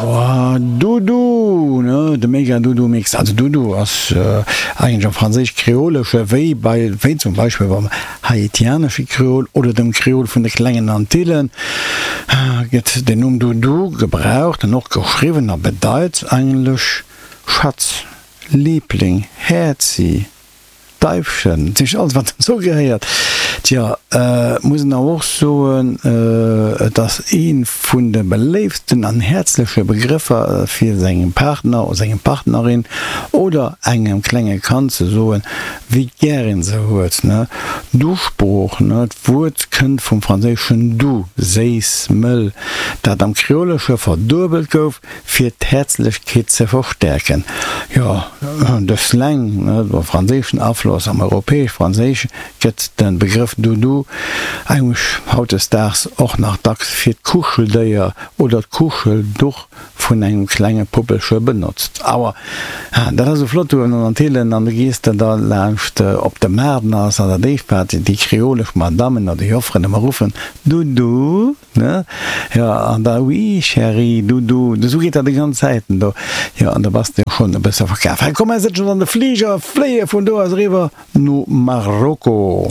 Oh, Doudou, ne, de Mega Doudou Mix. Also Doudou ass eigentlech am Franséisch-Kreolesche wéi bei, wéi zum Beispill beim haitianesche Kreol oder dem Kreol vun de Klengen Antillen gëtt den Numm Doudou gebraucht an och geschriwwen a bedeit eigentlech Schatz, Liebling, Häerzi. Deifchen, dat heescht alles wat dozou gehéiert. Tjo, et muss een awer och soen, et ass ee vun de beléiftsten an häerzleche Begrëffer fir sengem Partner oder senger Partnerin oder engem klenge Kand ze soen, wéi gär een se huet. D'Usprooch, d'Wuert kënnt vum franséischen doux, séiss, mëll, dat am Kreolesche verduebelt gouf, Fir d'Häerzlechkeet ze verstäerken. Jo, de Slang, de franséischen Afloss am Europäesch-Franséische gëtt de Begrëff Doudou eigentlech hautdesdaags och nach dacks fir d'Kuscheldéier oder d'Kuschelduch vun engem klenge Puppelche benotzt. Awer dat ass esou flott do an den Antillen an du gees de da laanscht op de Maart an ass dat éischt wat déi kreolesch Madammen oder Jofferen ëmmer ruffen, Doudou! Ne? Jo, an da, oui, chérie, Doudou, esou geet dat déi ganz Zäiten do. Jo, an da bass de jo schonn e bësse verkaf. Hei, komm, mer sëtzen an de Fliger a fléie vun do aus eriwwer no Marokko.